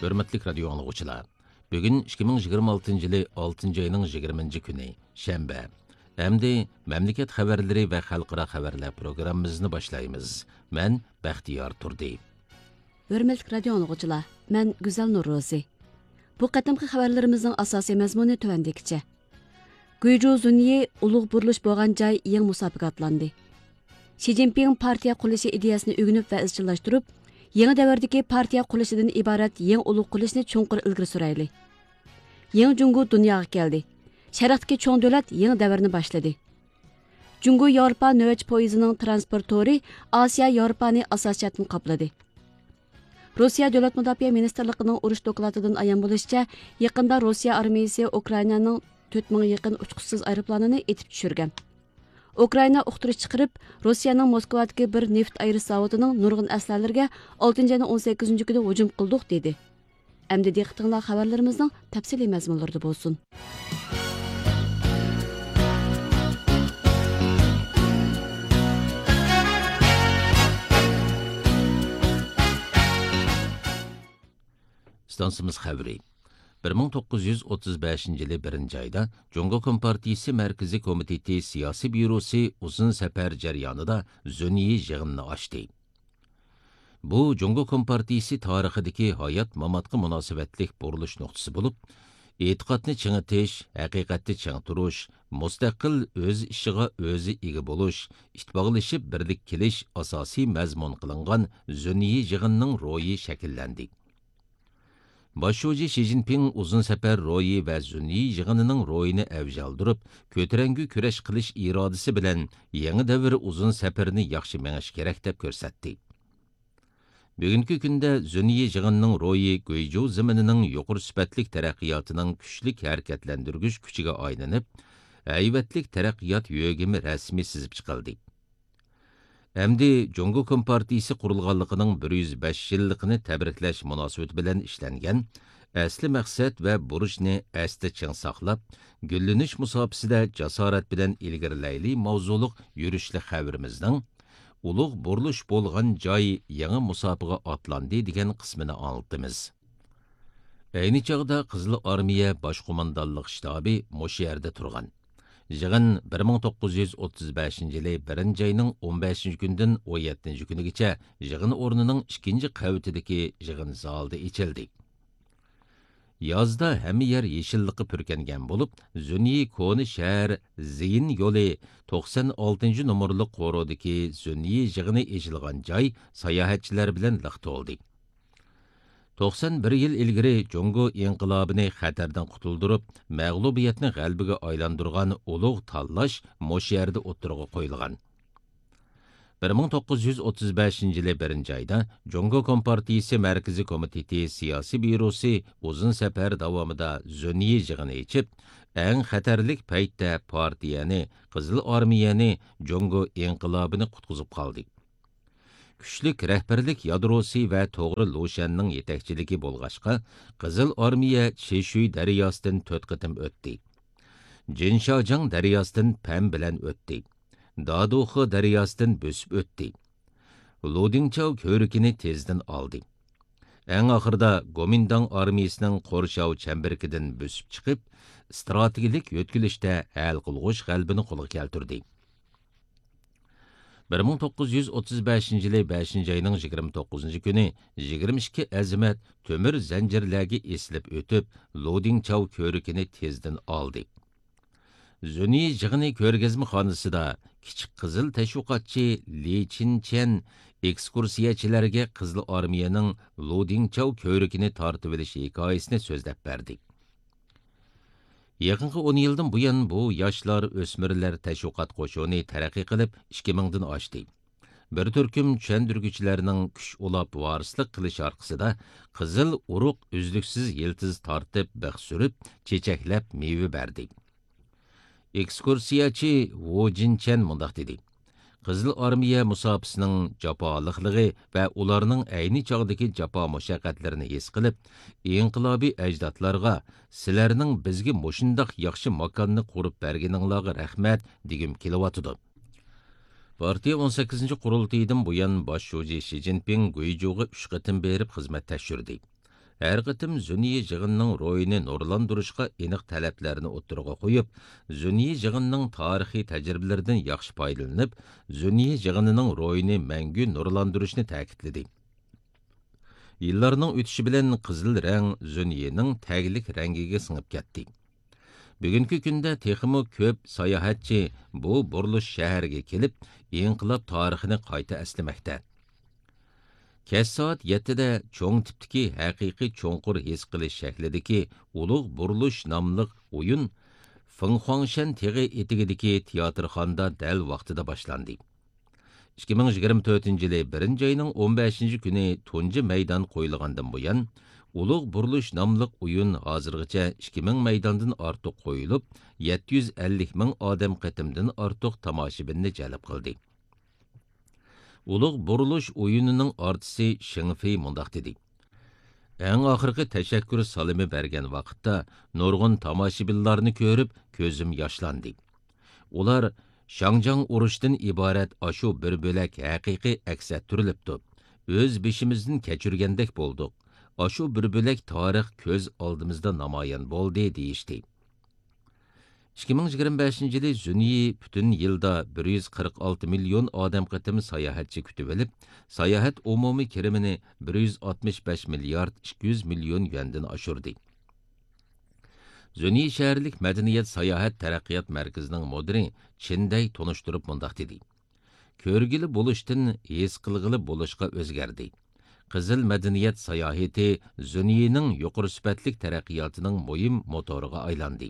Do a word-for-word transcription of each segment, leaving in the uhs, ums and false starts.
ھۆرمەتلىك رادىيو ئاڭلىغۇچىلار، بۈگۈن ئىككى مىڭ يىگىرمە ئالتىنچى يىلى ئالتىنچى ئاينىڭ يىگىرمىنچى كۈنى، شەنبە. ئەمدى مەملىكەت خەۋەرلىرى ۋە خەلقئارا خەۋەرلەر پروگراممىمىزنى باشلايمىز. مەن بەختىيار تۇردى. ھۆرمەتلىك رادىيو ئاڭلىغۇچىلار، مەن گۈزەل نۇرروزى. بۇ قېتىمقى خەۋەرلىرىمىزنىڭ ئاساسىي مەزمۇنى تۆۋەندىكىچە. گۇيجۇ زۇنيى ئۇلۇغ بۇرۇلۇش بولغان جاي يېڭى مۇساپىگە ئاتلاندى. شى جىنپىڭ پارتىيە قۇرۇلۇشى ئىدىيەسىنى ئۆگىنىپ ۋە ئىزچىللاشتۇرۇپ، يېڭى دەۋردىكى پارتىيە قۇرۇلۇشىدىن ئىبارەت يېڭى ئۇلۇغ قۇرۇلۇشنى چوڭقۇر ئىلگىرى سۈرەيلى. يېڭى جۇڭگو دۇنياغا كەلدى. شەرقتىكى چوڭ دۆلەت يېڭى دەۋرنى باشلىدى. جۇڭگو ياۋروپا نۆۋەتچى پويىزىنىڭ ترانسپورت تورى ئاسىيا ياۋروپانى ئاساسىي جەھەتتىن قاپلىدى. روسىيە دۆلەت مۇداپىئە مىنىستىرلىقىنىڭ ئۇرۇش دوكلاتىدىن ئايان بولۇشىچە، يېقىندا روسىيە ئارمىيىسى ئۇكرائىنانىڭ تۆت مىڭغا يېقىن ئۇچقۇچىسىز ئايروپىلانىنى ئېتىپ چۈشۈرگەن. ئۇكرائىنا ئۇقتۇرۇش چىقىرىپ، روسىيەنىڭ موسكۋادىكى بىر نېفىت ئايرىش زاۋۇتىنىڭ نۇرغۇن ئەسلىھەلىرىگە ئالتىنچى ئاينىڭ ئون سەككىزىنچى كۈنى ھۇجۇم قىلدۇق، دېدى. ئەمدى دىققىتىڭلار خەۋەرلىرىمىزنىڭ تەپسىلىي مەزمۇنلىرىدا بولسۇن. ئىستانسىمىز خەۋىرى. بىر مىڭ توققۇز يۈز ئوتتۇز بەشىنچى يىلى بىرىنچى ئايدا جۇڭگو كومپارتىيىسى مەركىزىي كومىتېتى سىياسىي بيۇروسى ئۇزۇن سەپەر جەريانىدا زۈنيى يىغىنىنى ئاچتى. بۇ جۇڭگو كومپارتىيىسى تارىخىدىكى ھايات-ماماتقا مۇناسىۋەتلىك بۇرۇلۇش نۇقتىسى بولۇپ، ئېتىقادنى چىڭىتىش، ھەقىقەتنى چىڭ تۇرۇش، مۇستەقىل ئۆز ئىشىغا ئۆزى ئىگە بولۇش، ئىتتىپاقلىشىپ بىرلىككە كېلىش ئاساسىي مەزمۇن قىلىنغان زۈنيى يىغىنىنىڭ روھى شەكىللەندى. باش شۇجى شى جىنپىڭ ئۇزۇن سەپەر روھى ۋە زۈنيى يىغىنىنىڭ روھىنى ئەۋج ئالدۇرۇپ، كۆتۈرەڭگۈ كۈرەش قىلىش ئىرادىسى بىلەن يېڭى دەۋر ئۇزۇن سەپىرىنى ياخشى مېڭىش كېرەك، دەپ كۆرسەتتى. بۈگۈنكى كۈندە زۈنيى يىغىنىنىڭ روھى گۇيجۇ زېمىنىنىڭ يۇقىرى سۈپەتلىك تەرەققىياتىنىڭ كۈچلۈك ھەرىكەتلەندۈرگۈچ كۈچىگە ئايلىنىپ، ھەيۋەتلىك تەرەققىيات يۆگىمى رەسمىي سىزىپ چىقىلدى. ئەمدى جۇڭگو كومپارتىيىسى قۇرۇلغانلىقىنىڭ بىر يۈز بەش يىللىقىنى تەبرىكلەش مۇناسىۋىتى بىلەن ئىشلەنگەن ئەسلى مەقسەت ۋە بۇرچنى ئەستە چىڭ ساقلاپ، گۈللىنىش مۇساپىسىدە جاسارەت بىلەن ئىلگىرىلەيلى ماۋزۇلۇق يۈرۈشلۈك خەۋىرىمىزنىڭ ئۇلۇغ بۇرۇلۇش بولغان جاي يېڭى مۇساپىگە ئاتلاندى دېگەن قىسمىنى ئاڭلىتىمىز. ئەينى چاغدا قىزىل ئارمىيە باش قوماندانلىق شتابى مۇشۇ يەردە تۇرغان. يىغىن بىر مىڭ توققۇز يۈز ئوتتۇز بەشىنچى يىلى بىرىنچى ئاينىڭ ئون بەشىنچى كۈنىدىن ئون يەتتىنچى كۈنىگىچە يىغىن ئورنىنىڭ ئىككىنچى قەۋىتىدىكى يىغىن زالىدا ئېچىلدى. يازدا ھەممە يەر يېشىللىققا پۈركەنگەن بولۇپ، زۈنيى كونا شەھەر زىيىن يولى توقسان ئالتىنچى نومۇرلۇق قورۇدىكى زۈنيى يىغىنى ئېچىلغان جاي ساياھەتچىلەر بىلەن لىق تولدى. توقسان بىر يىل ئىلگىرى جۇڭگو ئىنقىلابىنى خەتەردىن قۇتۇلدۇرۇپ، مەغلۇبىيەتنى غەلىبىگە ئايلاندۇرغان ئۇلۇغ تاللاش مۇشۇ يەردە ئوتتۇرىغا قويۇلغان. بىر مىڭ توققۇز يۈز ئوتتۇز بەشىنچى يىلى بىرىنچى ئايدا جۇڭگو كومپارتىيىسى مەركىزىي كومىتېتى سىياسىي بيۇروسى ئۇزۇن سەپەر داۋامىدا زۈنيى يىغىنى ئېچىپ، ئەڭ خەتەرلىك پەيتتە پارتىيەنى، قىزىل ئارمىيەنى، جۇڭگو ئىنقىلابىنى قۇتقۇزۇپ قالدى. كۈچلۈك رەھبەرلىك يادروسى ۋە توغرا لۇشەننىڭ يېتەكچىلىكى بولغاچقا، قىزىل ئارمىيە چىشۈي دەرياسىدىن تۆت قېتىم ئۆتتى. جىنشاجاڭ دەرياسىدىن پەن بىلەن ئۆتتى. دادۇخې دەرياسىدىن بۆسۈپ ئۆتتى. لۇدىڭچاۋ كۆۋرۈكىنى تېزدىن ئالدى. ئەڭ ئاخىرىدا گومىنداڭ ئارمىيىسىنىڭ قورشاۋ چەمبىرىكىدىن بۆسۈپ چىقىپ، ئىستراتېگىيەلىك يۆتكىلىشتە ھەل قىلغۇچ غەلىبىنى قولغا كەلتۈردى. بىر مىڭ توققۇز يۈز ئوتتۇز بەشىنچى يىلى بەشىنچى ئاينىڭ يىگىرمە توققۇزىنچى كۈنى يىگىرمە ئىككى ئەزىمەت تۆمۈر زەنجىرلەرگە ئېسىلىپ ئۆتۈپ، لۇدىڭچاۋ كۆۋرۈكىنى تېزدىن ئالدى. زۈنيى يىغىنى كۆرگەزمىخانىسىدا كىچىك قىزىل تەشۋىقاتچى لى چىنچيەن ئېكسكۇرسىيەچىلەرگە قىزىل ئارمىيەنىڭ لۇدىڭچاۋ كۆۋرۈكىنى تارتىۋېلىش ھېكايىسىنى سۆزلەپ بەردى. يېقىنقى ئون يىلدىن بۇيان بۇ ياشلار، ئۆسمۈرلەر تەشۋىقات قوشۇنى تەرەققىي قىلىپ، ئىككى مىڭدىن ئاشتى. بىر تۈركۈم چۈشەندۈرگۈچىلەرنىڭ كۈچ ئۇلاپ ۋارىسلىق قىلىشى ئارقىسىدا، قىزىل ئۇرۇق ئۈزلۈكسىز يىلتىز تارتىپ، بىخ سۈرۈپ، چېچەكلەپ، مېۋە بەردى. ئېكسكۇرسىيەچى ۋۇ جىنچەن مۇنداق دېدى: قىزىل ئارمىيە مۇساپىسىنىڭ جاپالىقلىقى ۋە ئۇلارنىڭ ئەينى چاغدىكى جاپا مۇشەققەتلىرىنى ھېس قىلىپ، ئىنقىلابىي ئەجدادلارغا، سىلەرنىڭ بىزگە مۇشۇنداق ياخشى ماكاننى قۇرۇپ بەرگىنىڭلارغا رەھمەت دېگۈم كېلىۋاتىدۇ. پارتىيە ئون سەككىزىنچى قۇرۇلتىيىدىن بۇيان باش شۇجى شى جىنپىڭ گۇيجۇغا ئۈچ قېتىم بېرىپ خىزمەت تەكشۈردى. ھەر قېتىم زۈنيى يىغىنىنىڭ روھىنى نۇرلاندۇرۇشقا ئېنىق تەلەپلەرنى ئوتتۇرىغا قويۇپ، زۈنيى يىغىنىنىڭ تارىخىي تەجرىبىلىرىدىن ياخشى پايدىلىنىپ، زۈنيى يىغىنىنىڭ روھىنى مەڭگۈ نۇرلاندۇرۇشنى تەكىتلىدى. يىللارنىڭ ئۆتۈشى بىلەن قىزىل رەڭ زۈنيىنىڭ تەگلىك رەڭگىگە سىڭىپ كەتتى. بۈگۈنكى كۈندە تېخىمۇ كۆپ ساياھەتچى بۇ بۇرۇلۇش شەھەرگە كېلىپ، ئىنقىلاب تارىخىنى قايتا ئەسلىمەكتە. كەچ سائەت يەتتىدە چوڭ تىپتىكى ھەقىقىي چوڭقۇر ھېس قىلىش شەكلىدىكى ئۇلۇغ بۇرۇلۇش ناملىق ئويۇن فېڭخۇاڭشەن تېغى ئېتىكىدىكى تىياتىرخانىدا دەل ۋاقتىدا باشلاندى. ئىككى مىڭ يىگىرمە تۆتىنچى يىلى بىرىنچى ئاينىڭ ئون بەشىنچى كۈنى تۇنجى مەيدان قويۇلغاندىن بۇيان، ئۇلۇغ بۇرۇلۇش ناملىق ئويۇن ھازىرغىچە ئىككى مىڭ مەيداندىن ئارتۇق قويۇلۇپ، يەتتە يۈز ئەللىك مىڭ ئادەم قېتىمدىن ئارتۇق تاماشىبىننى جەلپ قىلدى. ئۇلۇغ بۇرۇلۇش ئويۇنىنىڭ ئارتىسى شېڭ فېي مۇنداق دېدى: ئەڭ ئاخىرقى تەشەككۈر سالىمى بەرگەن ۋاقىتتا نۇرغۇن تاماشىبىنلارنى كۆرۈپ، كۆزۈم ياشلاندى. ئۇلار شاڭجاڭ ئۇرۇشىدىن ئىبارەت ئاشۇ بىر بۆلەك ھەقىقىي ئەكس ئەتتۈرۈلۈپتۇ. ئۆز بېشىمىزدىن كەچۈرگەندەك بولدۇق. ئاشۇ بىر بۆلەك تارىخ كۆز ئالدىمىزدا نامايان بولدى، دېيىشتى. ئىككى مىڭ يىگىرمە بەشىنچى يىلى زۈنيى پۈتۈن يىلدا بىر يۈز قىرىق ئالتە مىليون ئادەم قېتىم ساياھەتچى كۈتۈۋېلىپ، ساياھەت ئومۇمىي كىرىمىنى بىر يۈز ئاتمىش بەش مىليارد ئىككى يۈز مىليون يۈەندىن ئاشۇردى. زۈنيى شەھەرلىك مەدەنىيەت ساياھەت تەرەققىيات مەركىزىنىڭ مۇدىرى چىن دەي تونۇشتۇرۇپ مۇنداق دېدى: كۆرگىلى بولۇشتىن ھېس قىلغىلى بولۇشقا ئۆزگەردى. قىزىل مەدەنىيەت ساياھىتى زۈنيىنىڭ يۇقىرى سۈپەتلىك تەرەققىياتىنىڭ مۇھىم موتورىغا ئايلاندى.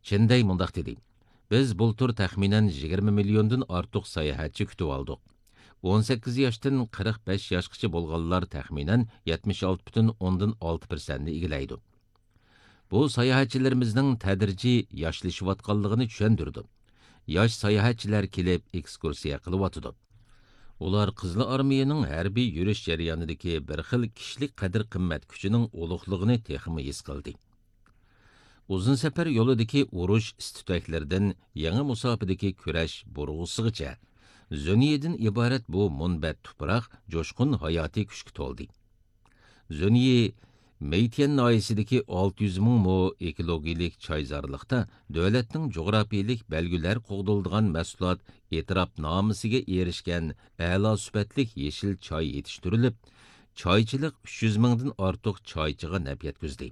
چىن دەي مۇنداق دېدى: بىز بۇلتۇر تەخمىنەن يىگىرمە مىليوندىن ئارتۇق ساياھەتچى كۈتۈۋالدۇق. ئون سەككىز ياشتىن قىرىق بەش ياشقىچە بولغانلار تەخمىنەن يەتمىش ئالتە پۈتۈن ئوندىن ئالتە پىرسەنتنى ئىگىلەيدۇ. بۇ ساياھەتچىلىرىمىزنىڭ تەدرىجىي ياشلىشىۋاتقانلىقىنى چۈشەندۈرىدۇ. ياش ساياھەتچىلەر كېلىپ ئېكسكۇرسىيە قىلىۋاتىدۇ. ئۇلار قىزىل ئارمىيەنىڭ ھەربىي يۈرۈش جەريانىدىكى بىر خىل كىشىلىك قەدىر-قىممەت كۈچىنىڭ ئۇلۇغلۇقىنى تېخىمۇ ھېس قىلدى. ئۇزۇن سەپەر يولىدىكى ئۇرۇش ئىس-تۈتەكلىرىدىن يېڭى مۇساپىدىكى كۈرەش بۇرغۇسىغىچە، زۆنىيىدىن ئىبارەت بۇ مۇنبەت تۇپراق جۇشقۇن ھاياتىي كۈچكە تولدى. زۆنىيى مېيتيەن ناھىيەسىدىكى ئالتە يۈز مىڭ مو ئېكولوگىيەلىك چايزارلىقتا دۆلەتنىڭ جۇغراپىيەلىك بەلگىلەر قوغدىلىدىغان مەھسۇلات ئېتىراپنامىسىگە ئېرىشكەن ئەلا سۈپەتلىك يېشىل چاي يېتىشتۈرۈلۈپ، چايچىلىق ئۈچ يۈز مىڭدىن ئارتۇق چايچىغا نەپ يەتكۈزدى.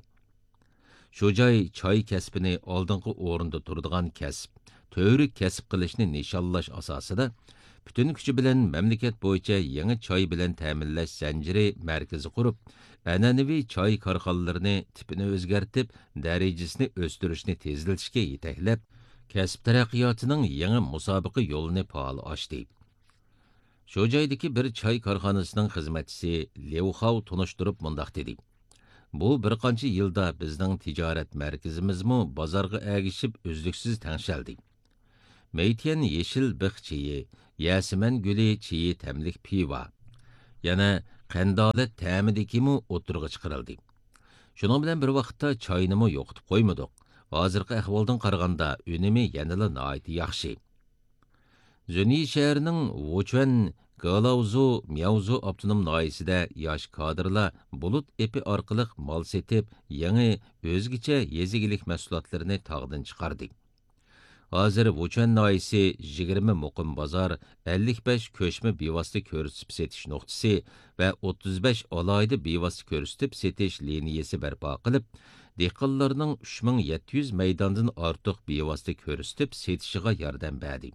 شۇ جاي چاي كەسپىنى ئالدىنقى ئورۇندا تۇرىدىغان كەسىپ، تۈۋرۈك كەسىپ قىلىشنى نىشانلاش ئاساسىدا، پۈتۈن كۈچى بىلەن مەملىكەت بويىچە يېڭى چاي بىلەن تەمىنلەش زەنجىرى مەركىزى قۇرۇپ، ئەنئەنىۋى چاي كارخانىلىرىنى تىپىنى ئۆزگەرتىپ، دەرىجىسىنى ئۆستۈرۈشنى تېزلىتىشكە يېتەكلەپ، كەسىپ تەرەققىياتىنىڭ يېڭى مۇسابىقە يولىنى پائال ئاچتى. شۇ جايدىكى بىر چاي كارخانىسىنىڭ خىزمەتچىسى ليۇ خاۋ تونۇشتۇرۇپ مۇنداق دېدى: بۇ بىر قانچە يىلدا بىزنىڭ تىجارەت مەركىزىمىزمۇ بازارغا ئەگىشىپ ئۈزلۈكسىز تەڭشەلدى. مېيتيەن يېشىل بىخ چېيى، يەسىمەن گۈلى چېيى تەملىك پىۋا، يەنە قەندالەت تەمىدىكىمۇ ئوتتۇرىغا چىقىرىلدى. شۇنىڭ بىلەن بىر ۋاقىتتا چاينىمۇ يوقىتىپ قويمىدۇق. ھازىرقى ئەھۋالدىن قارىغاندا ئۈنۈمى يەنىلا ناھايىتى ياخشى. زۈنيى شەھىرىنىڭ ۋۇچۈەن، گېلاۋزۇ، مياۋزۇ ئاپتونوم ناھىيەسىدە ياش كادىرلار بۇلۇت ئېپى ئارقىلىق مال سېتىپ، يېڭى، ئۆزگىچە يېزا ئىگىلىك مەھسۇلاتلىرىنى تاغدىن چىقاردى. ھازىر ۋۇچۈەن ناھىيەسى يىگىرمە مۇقىم بازار، ئەللىك بەش كۆچمە بىۋاسىتە كۆرسىتىپ سېتىش نۇقتىسى ۋە ئوتتۇز بەش ئالاھىدە بىۋاسىتە كۆرسىتىپ سېتىش لىنىيەسى بەرپا قىلىپ، دېھقانلارنىڭ ئۈچ مىڭ يەتتە يۈز مەيداندىن ئارتۇق بىۋاسىتە كۆرسىتىپ سېتىشىغا ياردەم بەردى.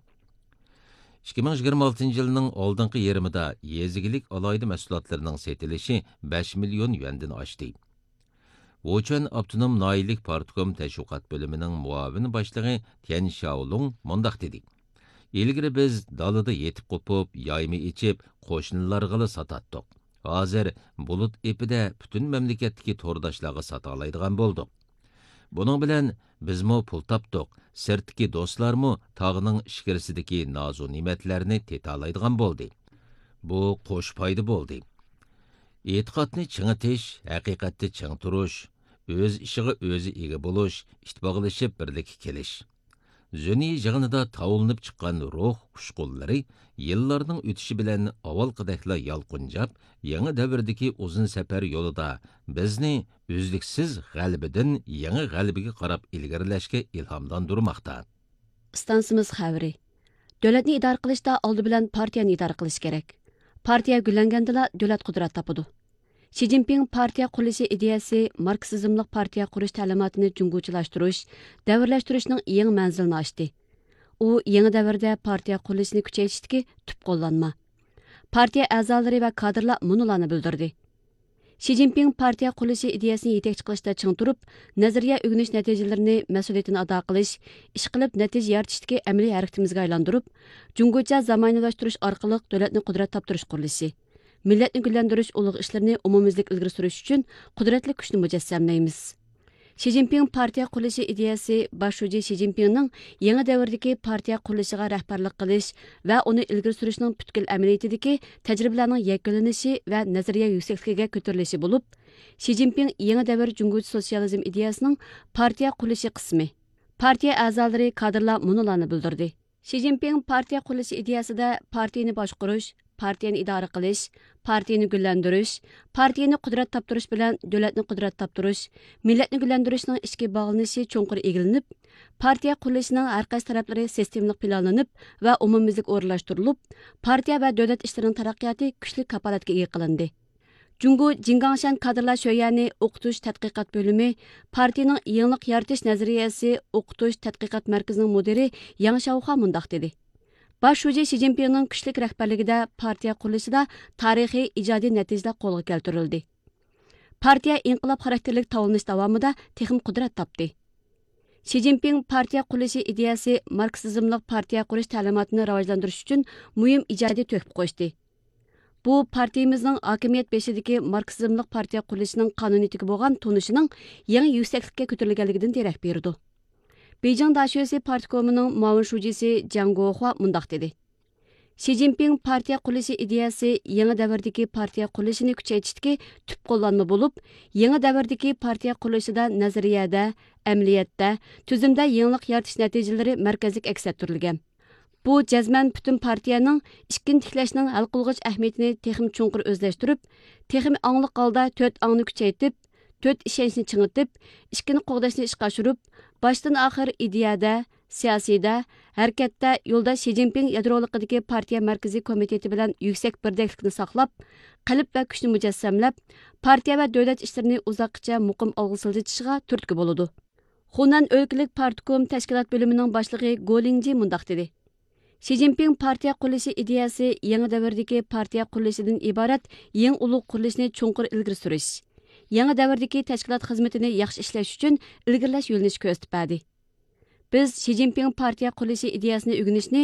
ئىككى مىڭ يىگىرمە ئالتىنچى يىلنىڭ ئالدىنقى يېرىمىدا يېزا ئىگىلىك ئالاھىدە مەھسۇلاتلىرىنىڭ سېتىلىشى بەش مىليون يۈەندىن ئاشتى. ۋۇچۈەن ئاپتونوم ناھىيەلىك پارتكوم تەشۋىقات بۆلۈمىنىڭ مۇئاۋىن باشلىقى تيەن شياۋلۇڭ مۇنداق دېدى: ئىلگىرى بىز دالىدا يېتىپ قوپۇپ، يايما ئېچىپ، قوشنىلارغىلا ساتاتتۇق. ھازىر بۇلۇت ئېپىدە پۈتۈن مەملىكەتتىكى تورداشلارغا ساتالايدىغان بولدۇق. بۇنىڭ بىلەن بىزمۇ پۇل تاپتۇق، سىرتتىكى دوستلارمۇ تاغنىڭ ئىچكىرىسىدىكى نازۇ نېمەتلەرنى تېتىلايدىغان بولدى. بۇ قوش پايدا بولدى. ئېتىقادنى چىڭىتىش، ھەقىقەتتە چىڭ تۇرۇش، ئۆز ئىشىغا ئۆزى ئىگە بولۇش، ئىتتىپاقلىشىپ بىرلىككە كېلىش. زۈنى يىغىنىدا تاۋلىنىپ چىققان روھ ئۇچقۇنلىرى يىللارنىڭ ئۆتۈشى بىلەن ئاۋۋالقىدەكلا يالقۇنجاپ، يېڭى دەۋردىكى ئۇزۇن سەپەر يولىدا بىزنى ئۈزلۈكسىز غەلىبىدىن يېڭى غەلىبىگە قاراپ ئىلگىرىلەشكە ئىلھاملاندۇرماقتا. ئىستانسىمىز خەۋىرى. دۆلەتنى ئىدارە قىلىشتا ئالدى بىلەن پارتىيەنى ئىدارە قىلىش كېرەك. پارتىيە گۈللەنگەندىلا دۆلەت قۇدرەت تاپىدۇ. شى جىنپىڭ پارتىيە قۇرۇلۇشى ئىدىيەسى ماركسىزملىق پارتىيە قۇرۇش تەلىماتىنى جۇڭگوچىلاشتۇرۇش، دەۋرلەشتۈرۈشنىڭ يېڭى مەنزىلىنى ئاچتى. ئۇ يېڭى دەۋردە پارتىيە قۇرۇلۇشىنى كۈچەيتىشتىكى تۈپ قوللانما. پارتىيە ئەزالىرى ۋە كادىرلار مۇنۇلارنى بىلدۈردى. شى جىنپىڭ پارتىيە قۇرۇلۇشى ئىدىيەسىنى يېتەكچى قىلىشتا چىڭ تۇرۇپ، نەزەرىيە ئۆگىنىش نەتىجىلىرىنى مەسئۇلىيىتىنى ئادا قىلىش، ئىش قىلىپ نەتىجە يارىتىشتىكى ئەمەلىي ھەرىكىتىمىزگە ئايلاندۇرۇپ، جۇڭگوچە زامانىۋىلاشتۇرۇش ئارقىلىق دۆلەتنى قۇدرەت تاپتۇرۇش قۇرۇلۇشى، مىللەتنى گۈللەندۈرۈش ئۇلۇغ ئىشلىرىنى ئومۇميۈزلۈك ئىلگىرى سۈرۈش ئۈچۈن قۇدرەتلىك كۈچنى مۇجەسسەملەيمىز. شى جىنپىڭ پارتىيە قۇرۇلۇشى ئىدىيەسى باش شۇجى شى جىنپىڭنىڭ يېڭى دەۋردىكى پارتىيە قۇرۇلۇشىغا رەھبەرلىك قىلىش ۋە ئۇنى ئىلگىرى سۈرۈشنىڭ پۈتكۈل ئەمەلىيىتىدىكى تەجرىبىلەرنىڭ يەكۈنلىنىشى ۋە نەزەرىيە يۈكسەكلىكىگە كۆتۈرۈلۈشى بولۇپ، شى جىنپىڭ يېڭى دەۋر جۇڭگوچە سوتسىيالىزم ئىدىيەسىنىڭ پارتىيە قۇرۇلۇشى قىسمى. پارتىيە ئەزالىرى، كادىرلار مۇنۇلارنى بىلدۈردى. شى جىنپىڭ پارتىيە قۇرۇلۇشى ئىدىيەسىدە پارتىيىنى باشقۇرۇش، پارتىيىنى ئىدارە قىلىش، پارتىيىنى گۈللەندۈرۈش، پارتىيىنى قۇدرەت تاپتۇرۇش بىلەن دۆلەتنى قۇدرەت تاپتۇرۇش، مىللەتنى گۈللەندۈرۈشنىڭ ئىچكى باغلىنىشى چوڭقۇر ئىگىلىنىپ، پارتىيە قۇرۇلۇشىنىڭ ھەر قايسى تەرەپلىرى سىستېمىلىق پىلانلىنىپ ۋە ئومۇميۈزلۈك ئورۇنلاشتۇرۇلۇپ، پارتىيە ۋە دۆلەت ئىشلىرىنىڭ تەرەققىياتى كۈچلۈك كاپالەتكە ئىگە قىلىندى. جۇڭگو جىڭگاڭشەن كادىرلار شۆيۈەنى ئوقۇتۇش تەتقىقات بۆلۈمى، پارتىيىنىڭ يېڭىلىق يارىتىش نەزەرىيەسى ئوقۇتۇش تەتقىقات مەركىزىنىڭ مۇدىرى ياڭ شياۋخۇا مۇنداق دېدى: باش شۇجى شى جىنپىڭنىڭ كۈچلۈك رەھبەرلىكىدە پارتىيە قۇرۇلۇشىدا تارىخىي ئىجادىي نەتىجىلەر قولغا كەلتۈرۈلدى. پارتىيە ئىنقىلاب خاراكتېرلىك تاۋلىنىش داۋامىدا تېخىمۇ قۇدرەت تاپتى. شى جىنپىڭ پارتىيە قۇرۇلۇشى ئىدىيەسى ماركسىزملىق پارتىيە قۇرۇش تەلىماتىنى راۋاجلاندۇرۇش ئۈچۈن مۇھىم ئىجادىي تۆھپە قوشتى. بۇ پارتىيىمىزنىڭ ھاكىمىيەت بېشىدىكى ماركسىزملىق پارتىيە قۇرۇلۇشىنىڭ قانۇنىيىتىگە بولغان تونۇشىنىڭ يېڭى يۈكسەكلىككە كۆتۈرۈلگەنلىكىدىن دېرەك بېرىدۇ. بېيجىڭ داشۆسى پارتكومىنىڭ مۇئاۋىن شۇجىسى جياڭ گوخۇا مۇنداق دېدى: شى جىنپىڭ پارتىيە قۇرۇلۇشى ئىدىيەسى يېڭى دەۋردىكى پارتىيە قۇرۇلۇشىنى كۈچەيتىشتىكى تۈپ قوللانما بولۇپ، يېڭى دەۋردىكى پارتىيە قۇرۇلۇشىدا نەزەرىيەدە، ئەمەلىيەتتە، تۈزۈمدە يېڭىلىق يارىتىش نەتىجىلىرى مەركەزلىك ئەكس ئەتتۈرۈلگەن. بۇ جەزمەن پۈتۈن پارتىيەنىڭ ئىككىنچى تىكلەشنىڭ ھەل قىلغۇچ ئەھمىيىتىنى تېخىمۇ چوڭقۇر ئۆزلەشتۈرۈپ، تېخىمۇ ئاڭلىق ھالدا تۆت ئاڭنى كۈچەيتىپ، تۆت ئىشەنچنى چىڭىتىپ، ئىككىنى قوغداشنى ئىشقا ئاشۇرۇپ، باشتىن ئاخىر ئىدىيەدە، سىياسىيدە، ھەرىكەتتە يولداش شى جىنپىڭ يادرولۇقىدىكى پارتىيە مەركىزىي كومىتېتى بىلەن يۈكسەك بىردەكلىكنى ساقلاپ، قەلب ۋە كۈچنى مۇجەسسەملەپ، پارتىيە ۋە دۆلەت ئىشلىرىنى ئۇزاققىچە مۇقىم ئالغا سىلجىتىشىغا تۈرتكە بولىدۇ. خۇنەن ئۆلكىلىك پارتكوم تەشكىلات بۆلۈمىنىڭ باشلىقى گو لىڭجى مۇنداق دېدى: شى جىنپىڭ پارتىيە قۇرۇلۇشى ئىدىيەسى يېڭى دەۋردىكى پارتىيە قۇرۇلۇشىدىن ئىبارەت يېڭى ئۇلۇغ قۇرۇلۇشنى چوڭقۇر ئىلگىرى سۈرۈش، يېڭى دەۋردىكى تەشكىلات خىزمىتىنى ياخشى ئىشلەش ئۈچۈن ئىلگىرىلەش يۆنىلىشى كۆرسىتىپ بەردى. بىز شى جىنپىڭ پارتىيە قۇرۇلۇشى ئىدىيەسىنى ئۆگىنىشنى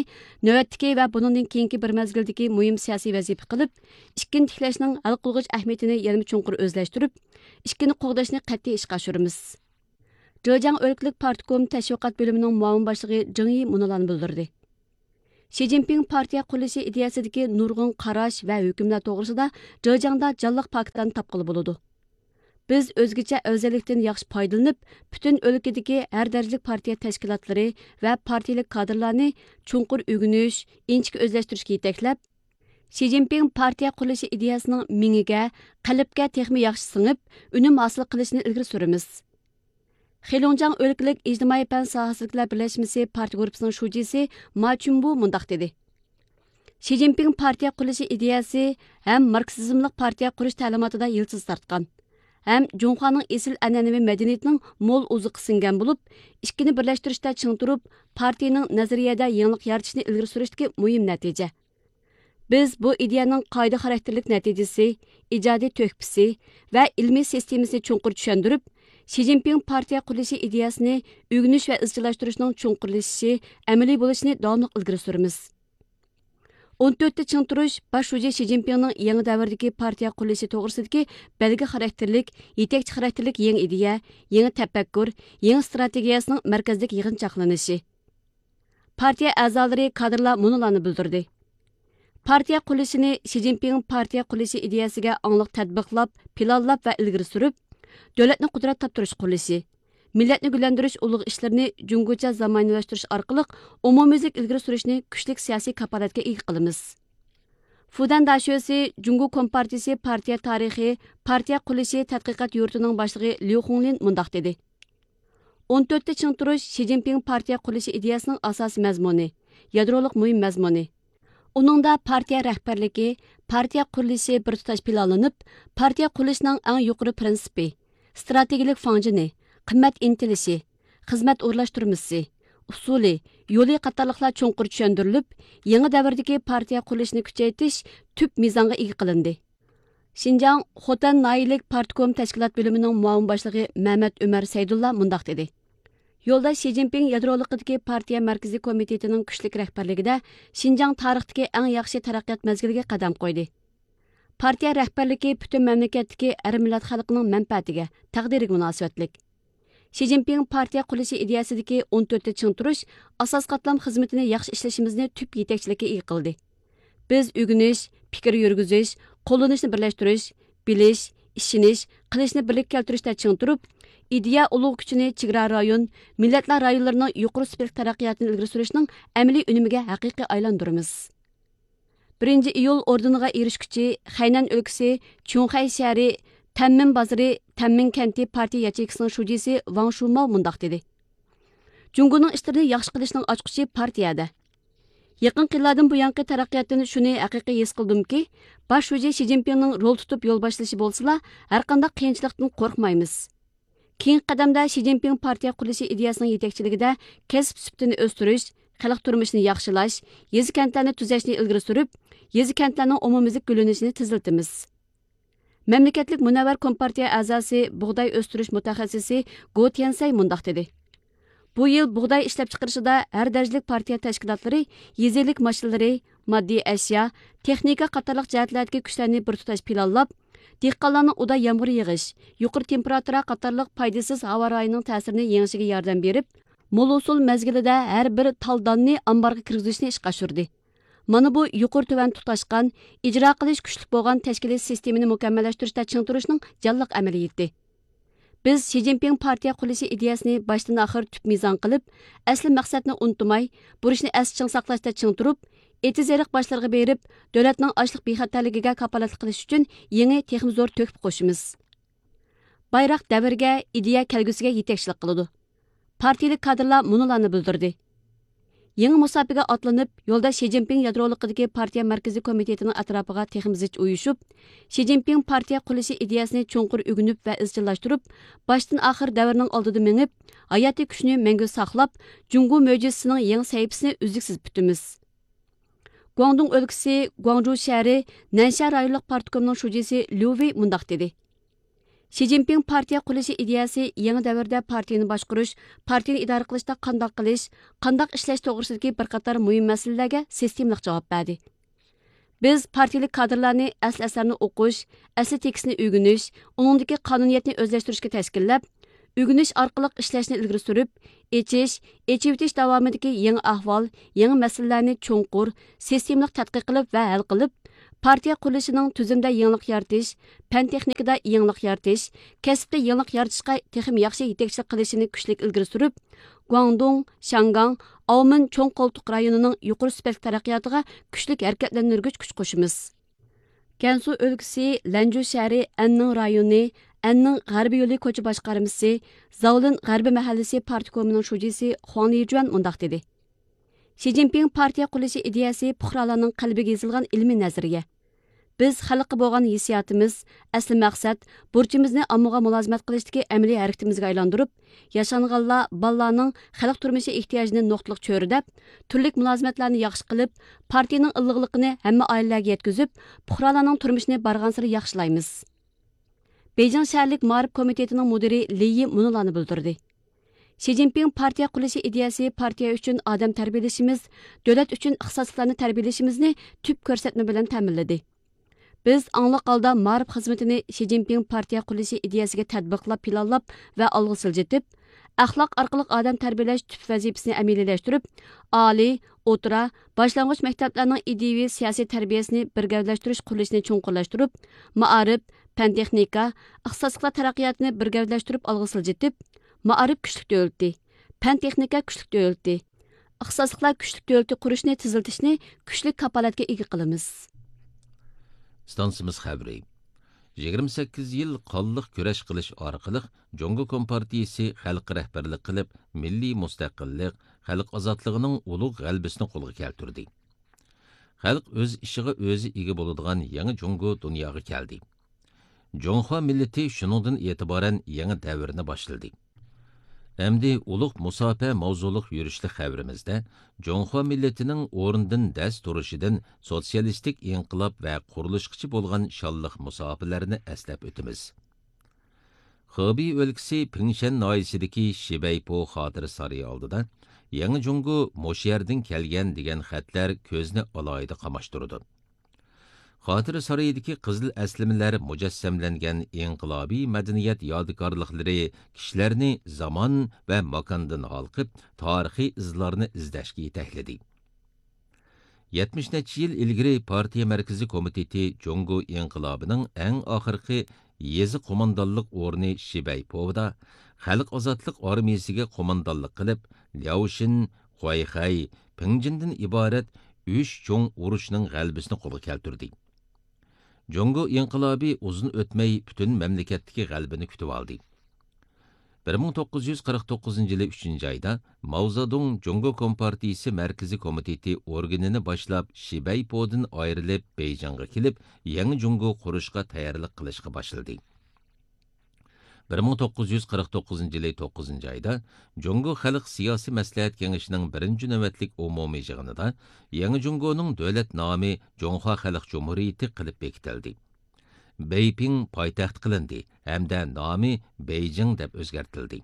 نۆۋەتتىكى ۋە بۇنىڭدىن كېيىنكى بىر مەزگىلدىكى مۇھىم سىياسىي ۋەزىپە قىلىپ، ئىككىنى تىكلەشنىڭ ھەل قىلغۇچ ئەھمىيىتىنى يەنىمۇ چوڭقۇر ئۆزلەشتۈرۈپ، ئىككىنى قوغداشنى قەتئىي ئىشقا ئاشۇرىمىز. جېجياڭ ئۆلكىلىك پارتكوم تەشۋىقات بۆلۈمىنىڭ مۇئاۋىن باشلىقى جېڭ يى مۇنۇلارنى بىلدۈردى: شى جىنپىڭ پارتىيە قۇرۇلۇشى ئىدىيەسىدىكى نۇرغۇن قاراش ۋە ھۆكۈملەر توغرىسىدا جېجياڭدا جانلىق پاكىتلارنى تاپقىلى بولىدۇ. بىز ئۆزگىچە ئەۋزەللىكتىن ياخشى پايدىلىنىپ، پۈتۈن ئۆلكىدىكى ھەر دەرىجىلىك پارتىيە تەشكىلاتلىرى ۋە پارتىيىلىك كادىرلارنى چوڭقۇر ئۆگىنىش، ئىنچىكە ئۆزلەشتۈرۈشكە يېتەكلەپ، شى جىنپىڭ پارتىيە قۇرۇلۇشى ئىدىيەسىنىڭ مېڭىگە، قەلبكە تېخىمۇ ياخشى سىڭىپ، ئۈنۈم ھاسىل قىلىشىنى ئىلگىرى سۈرىمىز. خېلۇڭجياڭ ئۆلكىلىك ئىجتىمائىي پەن ساھەسىدىكىلەر بىرلەشمىسى پارتىيە گۇرۇپپىسىنىڭ شۇجىسى ما چۈنبۇ مۇنداق دېدى: شى جىنپىڭ پارتىيە قۇرۇلۇشى ئىدىيەسى ھەم ماركسىزملىق پارتىيە قۇرۇش تەلىماتىدا يىلتىز تارتقان، ھەم جۇڭخۇانىڭ ئېسىل ئەنئەنىۋى مەدەنىيىتىنىڭ مول ئوزۇقى سىڭگەن بولۇپ، ئىككىنى بىرلەشتۈرۈشتە چىڭ تۇرۇپ، پارتىيىنىڭ نەزەرىيەدە يېڭىلىق يارىتىشنى ئىلگىرى سۈرۈشتىكى مۇھىم نەتىجە. بىز بۇ ئىدىيەنىڭ قائىدە خاراكتېرلىك نەتىجىسى، ئىجادىي تۆھپىسى ۋە ئىلمىي سىستېمىسىنى چوڭقۇر چۈشەندۈرۈپ، شى جىنپىڭ پارتىيە قۇرۇلۇشى ئىدىيەسىنى ئۆگىنىش ۋە ئىزچىللاشتۇرۇشنىڭ چوڭقۇرلىشىشى، ئەمەلىي بولۇشىنى داۋاملىق ئىلگىرى سۈرىمىز. ئون تۆتتە چىڭ تۇرۇش باش شۇجى شى جىنپىڭنىڭ يېڭى دەۋردىكى پارتىيە قۇرۇلۇشى توغرىسىدىكى بەلگە خاراكتېرلىك، يېتەكچى خاراكتېرلىك يېڭى ئىدىيە، يېڭى تەپەككۇر، يېڭى ئىستراتېگىيەسىنىڭ مەركەزلىك يىغىنچاقلىنىشى. پارتىيە ئەزالىرى، كادىرلار مۇنۇلارنى بىلدۈردى: پارتىيە قۇرۇلۇشىنى شى جىنپىڭ پارتىيە قۇرۇلۇشى ئىدىيەسىگە ئاڭلىق تەتبىقلاپ، پىلانلاپ ۋە ئىلگىرى سۈرۈپ، دۆلەتنى قۇدرەت تاپتۇرۇش قۇرۇلۇشى، مىللەتنى گۈللەندۈرۈش ئۇلۇغ ئىشلىرىنى جۇڭگوچە زامانىۋىلاشتۇرۇش ئارقىلىق ئومۇميۈزلۈك ئىلگىرى سۈرۈشنى كۈچلۈك سىياسىي كاپالەتكە ئىگە قىلىمىز. فۇدەن داشۆسى جۇڭگو كومپارتىيىسى پارتىيە تارىخى، پارتىيە قۇرۇلۇشى تەتقىقات يۇرتىنىڭ باشلىقى ليۇ خۇڭلىن مۇنداق دېدى: ئون تۆتتە چىڭ تۇرۇش شى جىنپىڭ پارتىيە قۇرۇلۇشى ئىدىيەسىنىڭ ئاساسىي مەزمۇنى، يادرولۇق مۇھىم مەزمۇنى. ئۇنىڭدا پارتىيە رەھبەرلىكى، پارتىيە قۇرۇلۇشى بىر تۇتاش پىلانلىنىپ، پارتىيە قۇرۇلۇشىنىڭ ئەڭ يۇقىرى پرىنسىپى، ستراتېگىيىلىك فاڭجېنى، قىممەت ئىنتىلىشى، خىزمەت ئورۇنلاشتۇرمىسى، ئۇسۇلى، يولى قاتارلىقلار چوڭقۇر چۈشەندۈرۈلۈپ، يېڭى دەۋردىكى پارتىيە قۇرۇلۇشىنى كۈچەيتىش تۈپ مىزانغا ئىگە قىلىندى. شىنجاڭ خوتەن ناھىيىلىك پارتكوم تەشكىلات بۆلۈمىنىڭ مۇئاۋىن باشلىقى مەمەت ئۆمەر سەيدۇللا مۇنداق دېدى: يولداش شى جىنپىڭ يادرولۇقىدىكى پارتىيە مەركىزىي كومىتېتىنىڭ كۈچلۈك رەھبەرلىكىدە شىنجاڭ تارىختىكى ئەڭ ياخشى تەرەققىيات مەزگىلىگە قەدەم قويدى. پارتىيە رەھبەرلىكى پۈتۈن مەملىكەتتىكى ھەر مىللەت خەلقىنىڭ مەنپەئەتىگە، تەقدىرىگە مۇناسىۋەتلىك. شى جىنپىڭ پارتىيە قۇرۇلۇشى ئىدىيەسىدىكى ئون تۆتتە چىڭ تۇرۇش ئاساسىي قاتلام خىزمىتىنى ياخشى ئىشلىشىمىزنى تۈپ يېتەكچىلىككە ئىگە قىلدى. بىز ئۆگىنىش، پىكىر يۈرگۈزۈش، قوللىنىشنى بىرلەشتۈرۈش، بىلىش، ئىشىنىش، قىلىشنى بىرلىككە كەلتۈرۈشتە چىڭ تۇرۇپ، ئىدىيە ئۇلۇغ كۈچىنى چېگرا رايون، مىللەتلەر رايونلىرىنىڭ يۇقىرى سۈپەتلىك تەرەققىياتىنى ئىلگىرى سۈرۈشنىڭ ئەمەلىي ئۈنۈمىگە ھەقىقىي ئايلاندۇرىمىز. بىرىنچى ئىيۇل ئوردېنىغا ئېرىشكۈچى خەينەن ئۆلكىسى چۈڭخەي شەھىرى تەنمىن بازىرى تەنمىن كەنتى پارتىيە ياچېيكىسىنىڭ شۇجىسى ۋاڭ شۇماۋ مۇنداق دېدى: جۇڭگونىڭ ئىشلىرىنى ياخشى قىلىشنىڭ ئاچقۇچى پارتىيەدە. يېقىنقى يىللاردىن بۇيانقى تەرەققىياتتىن شۇنى ھەقىقىي ھېس قىلدىمكى، باش شۇجى شى جىنپىڭنىڭ رول تۇتۇپ يول باشلىشى بولسىلا، ھەرقانداق قىيىنچىلىقتىن قورقمايمىز. كېيىنكى قەدەمدە شى جىنپىڭ پارتىيە قۇرۇلۇشى ئىدىيەسىنىڭ يېتەكچىلىكىدە كەسىپ سۈپىتىنى ئۆستۈرۈش، خەلق تۇرمۇشىنى ياخشىلاش، يېزا كەنتلەرنى تۈزەشنى ئىلگىرى سۈرۈپ، يېزا كەنتلەرنىڭ ئومۇميۈزلۈك گۈللىنىشىنى تېزلىتىمىز. مەملىكەتلىك مۇنەۋۋەر كومپارتىيە ئەزاسى، بۇغداي ئۆستۈرۈش مۇتەخەسسىسى گو تيەنسەي مۇنداق دېدى: بۇ يىل بۇغداي ئىشلەپچىقىرىشىدا ھەر دەرىجىلىك پارتىيە تەشكىلاتلىرى يېزا ئىگىلىك ماشىنىلىرى، ماددىي ئەشيا، تېخنىكا قاتارلىق جەھەتلەردىكى كۈچلەرنى بىر تۇتاش پىلانلاپ، دېھقانلارنىڭ ئۇدا يامغۇر يېغىش، يۇقىرى تېمپېراتۇرا قاتارلىق پايدىسىز ھاۋا رايىنىڭ تەسىرىنى يېڭىشىگە ياردەم بېرىپ، مول ھوسۇل مەزگىلىدە ھەر بىر تال داننى ئامبارغا كىرگۈزۈشنى ئىشقا ئاشۇردى. مانا بۇ يۇقىرى تۆۋەن تۇتاشقان، ئىجرا قىلىش كۈچلۈك بولغان تەشكىلىي سىستېمىنى مۇكەممەللەشتۈرۈشتە چىڭ تۇرۇشنىڭ جانلىق ئەمەلىيىتى. بىز شى جىنپىڭ پارتىيە قۇرۇلۇشى ئىدىيەسىنى باشتىن ئاخىر تۈپ مىزان قىلىپ، ئەسلى مەقسەتنى ئۇنتۇماي، بۇرچنى ئەستە چىڭ ساقلاشتا چىڭ تۇرۇپ، ئېتىز-ئېرىق باشلىرىغا بېرىپ، دۆلەتنىڭ ئاشلىق بىخەتەرلىكىگە كاپالەتلىك قىلىش ئۈچۈن يېڭى، تېخىمۇ زور تۆھپە قوشىمىز. بايراق دەۋرگە، ئىدىيە كەلگۈسىگە يېتەكچىلىك قىلىدۇ. پارتىيىلىك كادىرلار مۇنۇلارنى بىلدۈردى: يېڭى مۇساپىگە ئاتلىنىپ، يولداش شى جىنپىڭ يادرولۇقىدىكى پارتىيە مەركىزىي كومىتېتىنىڭ ئەتراپىغا تېخىمۇ زىچ ئۇيۇشۇپ، شى جىنپىڭ پارتىيە قۇرۇلۇشى ئىدىيەسىنى چوڭقۇر ئۆگىنىپ ۋە ئىزچىللاشتۇرۇپ، باشتىن ئاخىر دەۋرنىڭ ئالدىدا مېڭىپ، ھاياتىي كۈچنى مەڭگۈ ساقلاپ، جۇڭگو مۆجىزىسىنىڭ يېڭى سەھىپىسىنى ئۈزلۈكسىز پۈتىمىز. گۇاڭدۇڭ ئۆلكىسى گۇاڭجۇ شەھىرى نەنشيا رايونلۇق پارتكومنىڭ شۇجىسى ليۇ ۋېي مۇنداق دېدى: شى جىنپىڭ پارتىيە قۇرۇلۇشى ئىدىيەسى يېڭى دەۋردە پارتىيىنى باشقۇرۇش، پارتىيىنى ئىدارە قىلىشتا قانداق قىلىش، قانداق ئىشلەش توغرىسىدىكى بىر قاتار مۇھىم مەسىلىلەرگە سىستېمىلىق جاۋاب بەردى. بىز پارتىيىلىك كادىرلارنى ئەسلى ئەسەرنى ئوقۇش، ئەسلى تېكىستنى ئۆگىنىش، ئۇنىڭدىكى قانۇنىيەتنى ئۆزلەشتۈرۈشكە تەشكىللەپ، ئۆگىنىش ئارقىلىق ئىشلەشنى ئىلگىرى سۈرۈپ، ئېچىش، ئېچىۋېتىش داۋامىدىكى يېڭى ئەھۋال، يېڭى مەسىلىلەرنى چوڭقۇر، سىستېمىلىق تەتقىق قىلىپ ۋە ھەل قىلىپ، پارتىيە قۇرۇلۇشىنىڭ تۈزۈمدە يېڭىلىق يارىتىش، پەن تېخنىكىدا يېڭىلىق يارىتىش، كەسىپتە يېڭىلىق يارىتىشقا تېخىمۇ ياخشى يېتەكچىلىك قىلىشىنى كۈچلۈك ئىلگىرى سۈرۈپ، گۇاڭدۇڭ، شياڭگاڭ، ئاۋمېن چوڭ قولتۇق رايونىنىڭ يۇقىرى سۈپەتلىك تەرەققىياتىغا كۈچلۈك ھەرىكەتلەندۈرگۈچ كۈچ قوشىمىز. گەنسۇ ئۆلكىسى لەنجۇ شەھىرى ئەننىڭ رايونى، ئەننىڭ غەربىي يولى كوچا باشقارمىسى، زاۋلىن غەربىي مەھەللىسى پارتكومىنىڭ شۇجىسى خۇاڭ لىجۈەن مۇنداق دېدى: شى جىنپىڭ پارتىيە قۇرۇلۇشى ئىدىيەسى پۇقرالارنىڭ قەلبىگە يېزىلغان ئىلمىي نەزەرىيە. بىز خەلققە بولغان ھېسسىياتىمىز، ئەسلى مەقسەت، بۇرچىمىزنى ئاممىغا مۇلازىمەت قىلىشتىكى ئەمەلىي ھەرىكىتىمىزگە ئايلاندۇرۇپ، ياشانغانلار، بالىلارنىڭ خەلق تۇرمۇشى ئېھتىياجىنى نۇقتىلىق چۆرىدەپ، تۈرلۈك مۇلازىمەتلەرنى ياخشى قىلىپ، پارتىيىنىڭ ئىللىقلىقىنى ھەممە ئائىلىلەرگە يەتكۈزۈپ، پۇقرالارنىڭ تۇرمۇشىنى بارغانسېرى ياخشىلايمىز. بېيجىڭ شەھەرلىك مائارىپ كومىتېتىنىڭ مۇدىرى لى يى مۇنۇلارنى بىلدۈردى: شى جىنپىڭ پارتىيە قۇرۇلۇشى ئىدىيەسى پارتىيە ئۈچۈن ئادەم تەربىيەلىشىمىز، دۆلەت ئۈچۈن ئىختىساسلىقلارنى تەربىيەلىشىمىزنى تۈپ كۆرسەتمە بىلەن تەمىنلىدى. بىز ئاڭلىق ھالدا مائارىپ خىزمىتىنى شى جىنپىڭ پارتىيە قۇرۇلۇشى ئىدىيەسىگە تەتبىقلاپ پىلانلاپ ۋە ئالغا سىلجىتىپ، ئەخلاق ئارقىلىق ئادەم تەربىيەلەش تۈپ ۋەزىپىسىنى ئەمەلىيلەشتۈرۈپ، ئالىي، ئوتتۇرا، باشلانغۇچ مەكتەپلەرنىڭ ئىدىيىۋى سىياسىي تەربىيەسىنى بىر گەۋدىلەشتۈرۈش قۇرۇلۇشىنى چوڭقۇرلاشتۇرۇپ، مائارىپ، پەن تېخنىكا، ئىختىساسلىقلار تەرەققىياتىنى بىر گەۋدىلەشتۈرۈپ ئالغا سىلجىتىپ، مائارىپ كۈچلۈك دۆلىتى، پەن-تېخنىكا كۈچلۈك دۆلىتى، ئىختىساسلىقلار كۈچلۈك دۆلىتى قۇرۇشنى تېزلىتىشنى كۈچلۈك كاپالەتكە ئىگە قىلىمىز. ئىستانسىمىز خەۋىرى. يىگىرمە سەككىز يىل قانلىق كۈرەش قىلىش ئارقىلىق، جۇڭگو كومپارتىيىسى خەلققە رەھبەرلىك قىلىپ، مىللىي مۇستەقىللىق، خەلق ئازادلىقىنىڭ ئۇلۇغ غەلىبىسىنى قولغا كەلتۈردى. خەلق ئۆز ئىشىغا ئۆزى ئىگە بولىدىغان يېڭى جۇڭگو دۇنياغا كەلدى. جۇڭخۇا مىللىتى شۇنىڭدىن ئېتىبارەن يېڭى دەۋرنى باشلىدى. ئەمدى ئۇلۇغ مۇساپە ماۋزۇلۇق يۈرۈشلۈك خەۋىرىمىزدە جۇڭخۇا مىللىتىنىڭ ئورنىدىن دەس تۇرۇشىدىن سوتسىيالىستىك ئىنقىلاب ۋە قۇرۇلۇشقىچە بولغان شانلىق مۇساپىلەرنى ئەسلەپ ئۆتىمىز. خېبېي ئۆلكىسى پىڭشەن ناھىيىسىدىكى شىبەيپو خاتىرە سارىيى ئالدىدا يېڭى جۇڭگو مۇشۇ يەردىن كەلگەن دېگەن خەتلەر كۆزنى ئالاھىدە قاماشتۇرىدۇ. خاتىرە سارىيىدىكى قىزىل ئەسلىمىلەر مۇجەسسەملەنگەن ئىنقىلابىي مەدەنىيەت يادىكارلىقلىرى كىشىلەرنى زامان ۋە ماكاندىن ھالقىپ، تارىخىي ئىزلارنى ئىزدەشكە يېتەكلىدى. يەتمىش نەچچە يىل ئىلگىرى پارتىيە مەركىزىي كومىتېتى جۇڭگو ئىنقىلابىنىڭ ئەڭ ئاخىرقى يېزا قوماندانلىق ئورنى شىبەيپوۋدا خەلق ئازادلىق ئارمىيىسىگە قوماندانلىق قىلىپ، لياۋشىن، خۇەيخەي، پىڭجىندىن ئىبارەت ئۈچ چوڭ ئۇرۇشنىڭ غەلىبىسىنى قولغا كەلتۈردى. جۇڭگو ئىنقىلابى ئۇزۇن ئۆتمەي پۈتۈن مەملىكەتتىكى غەلىبىنى كۈتۈۋالدى. بىر مىڭ توققۇز يۈز قىرىق توققۇزىنچى يىلى ئۈچىنچى ئايدا ماۋزېدۇڭ جۇڭگو كومپارتىيىسى مەركىزىي كومىتېتى ئورگىنىنى باشلاپ، شىبەيپودىن ئايرىلىپ، بېيجىڭغا كېلىپ، يېڭى جۇڭگو قۇرۇشقا تەييارلىق قىلىشقا باشلىدى. بىر مىڭ توققۇز يۈز قىرىق توققۇزىنچى يىلى توققۇزىنچى ئايدا جۇڭگو خەلق سىياسىي مەسلىھەت كېڭىشىنىڭ بىرىنچى نۆۋەتلىك ئومۇمىي يىغىنىدا يېڭى جۇڭگونىڭ دۆلەت نامى جۇڭخۇا خەلق جۇمھۇرىيىتى قىلىپ بېكىتىلدى. بېيپىڭ پايتەخت قىلىندى ھەمدە نامى بېيجىڭ دەپ ئۆزگەرتىلدى.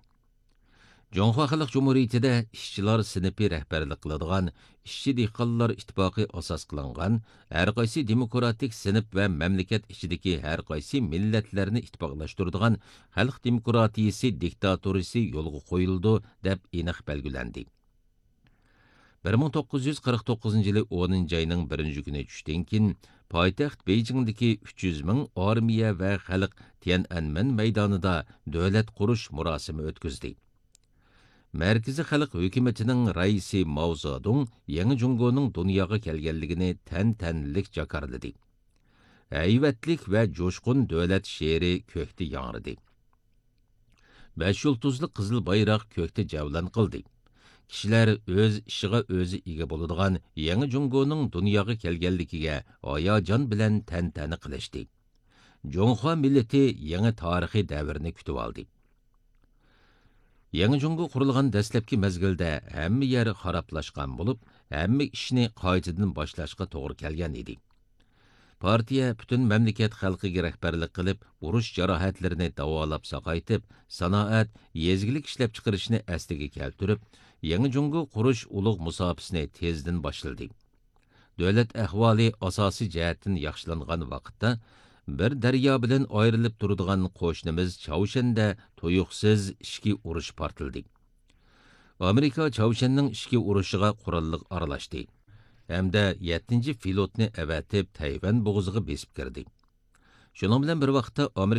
جۇڭخۇا خەلق جۇمھۇرىيىتىدە ئىشچىلار سىنىپى رەھبەرلىك قىلىدىغان ئىشچى دېھقانلار ئىتتىپاقى ئاساس قىلىنغان، ھەرقايسى دېموكراتىك سىنىپ ۋە مەملىكەت ئىچىدىكى ھەرقايسى مىللەتلەرنى ئىتتىپاقلاشتۇرىدىغان خەلق دېموكراتىيىسى دىكتاتورىسى يولغا قويۇلىدۇ، دەپ ئېنىق بەلگىلەندى. بىر مىڭ توققۇز يۈز قىرىق توققۇزىنچى يىلى ئونىنچى ئاينىڭ بىرىنچى كۈنى چۈشتىن كېيىن، پايتەخت بېيجىڭدىكى ئۈچ يۈز مىڭ ئارمىيە ۋە خەلق تيەنئەنمېن مەيدانىدا دۆلەت قۇرۇش مۇراسىمى ئۆتكۈزدى. مەركىزىي خەلق ھۆكۈمىتىنىڭ رەئىسى ماۋ زېدۇڭ يېڭى جۇڭگونىڭ دۇنياغا كەلگەنلىكىنى تەنتەنىلىك جاكارلىدى. ھەيۋەتلىك ۋە جۇشقۇن دۆلەت شېئىرى كۆكتە ياڭرىدى. بەش يۇلتۇزلۇق قىزىل بايراق كۆكتە جەۋلان قىلدى. كىشىلەر ئۆز ئىشىغا ئۆزى ئىگە بولىدىغان يېڭى جۇڭگونىڭ دۇنياغا كەلگەنلىكىگە ھاياجان بىلەن تەنتەنە قىلىشتى. جۇڭخۇا مىللىتى يېڭى تارىخىي دەۋرنى كۈتۈۋالدى. يېڭى جۇڭگو قۇرۇلغان دەسلەپكى مەزگىلدە ھەممە يەر خارابلاشقان بولۇپ، ھەممە ئىشنى قايتىدىن باشلاشقا توغرا كەلگەن ئىدى. پارتىيە پۈتۈن مەملىكەت خەلقىگە رەھبەرلىك قىلىپ، ئۇرۇش جاراھەتلىرىنى داۋالاپ ساقايتىپ، سانائەت، يېزا ئىگىلىك ئىشلەپچىقىرىشنى ئەسلىگە كەلتۈرۈپ، يېڭى جۇڭگو قۇرۇش ئۇلۇغ مۇساپىسىنى تېزدىن باشلىدى. دۆلەت ئەھۋالى ئاساسىي جەھەتتىن ياخشىلانغان ۋاقىتتا، بىر دەريا بىلەن ئايرىلىپ تۇرىدىغان قوشنىمىز چاۋشيەندە تۇيۇقسىز ئىچكى ئۇرۇش پارتلىدى. ئامېرىكا چاۋشيەننىڭ ئىچكى ئۇرۇشىغا قوراللىق ئارىلاشتى ھەمدە يەتتىنچى فلوتنى ئەۋەتىپ، تەيۋەن بوغۇزىغا بېسىپ كىردى. شۇنىڭ بىلەن بىر ۋاقىتتا، ئامېرىكا